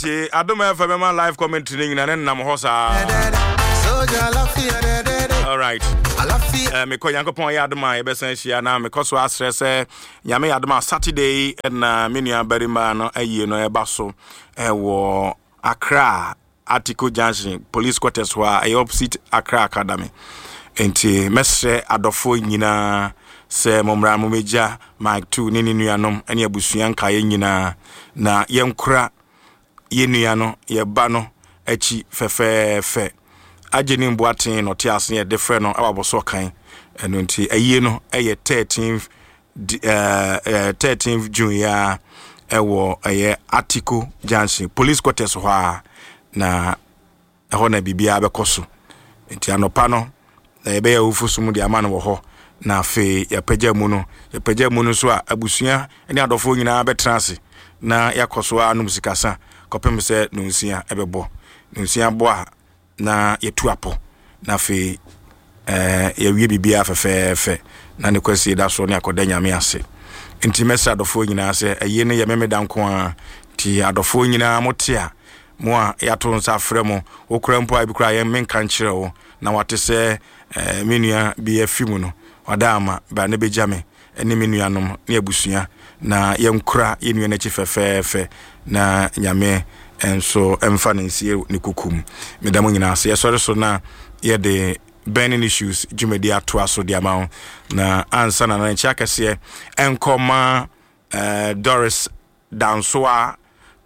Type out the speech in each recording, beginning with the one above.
Nti Adom FM bɛma live commentary no nyina ne nam hɔ saa. Alright. Uh, mekɔ Nyankopɔn yɛ adom a yɛbɛsan ahyia na mekɔ so asrɛ sɛ Nyame yɛ adom a Saturday na me nua barima no ayie no ɛba so ɛwɔ Accra Article Junction Police Quarters hɔ a ɛyɛ opposite Accra Academy. Nti mɛsrɛ adɔfoɔ nyinaa sɛ mommra mommɛgya Mike Tu ne ne nuanom ne abusua nkaeɛ nyinaa na yɛnkora yɛn nua no, yɛn ba no akyi fɛfɛɛfɛ. Agye ne mboaten na ɔte ase yɛde frɛ no wɔ abɔsɔ kan. Ɛno nti ayie no ɛyɛ 13th 13th June ya ɛwɔ ɛyɛ Atiko Junction Police Quarters hɔ a na Ɛhɔ na biribiara bɛkɔ so. Enti anɔpa no, na yɛbɛyɛ awufo som de ama no wɔ hɔ, na afei yɛapagya mu no. Yɛpagya mu no nso a, abusua ne adɔfoɔ nyinaa bɛtena ase na yɛakɔ so anom sikasa kɔpem sɛ nonsia ɛbɛbɔ. Nonsia bɔ a, na yɛtu apɔ, na afei Ɛɛ, yɛawie biribiara fɛfɛɛfɛ, na ne kwasie da so ne akɔda Nyame ase. Nti mɛsrɛ adɔfoɔ nyinaa sɛ, ayie no yɛ Memeda nko ara, nti adɔfoɔ nyinaa mote a, mo a yɛato nsa afrɛ mo, wo koraa mpo a ebi koraa yɛn menka nkyerɛ wo, na wate sɛ ɛɛ, me nua bi afi mu no, wada ama, bra na bɛgya me ne me nuanom ne abusua, na yɛnkora yɛn nua no akyi fɛfɛɛfɛ, na Nyame nso mfa no nsie ne kuku mu. Meda mo nyinaa ase. Yɛsɔre so na yɛde Burning Issues dwumadi atoa so de ama wo. Na ansa na na nkyia kɛseɛ ɛnkɔ ma eh, Doris Dansoa,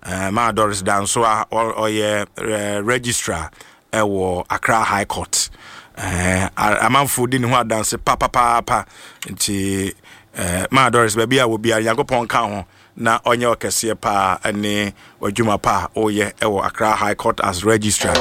eh, ma Doris Dansoa, ɔyɛ eh, registrar ɛwɔ Accra High Court. Eh, amanfo di ne ho adanse papapaapa. Nti eh, ma Doris, baabi a wɔ biara Nyankopɔn ka ho na ɔnyɛ ɔkɛseɛ paa ne w'adwuma pa a woyɛ wɔ Accra High Court as registrar.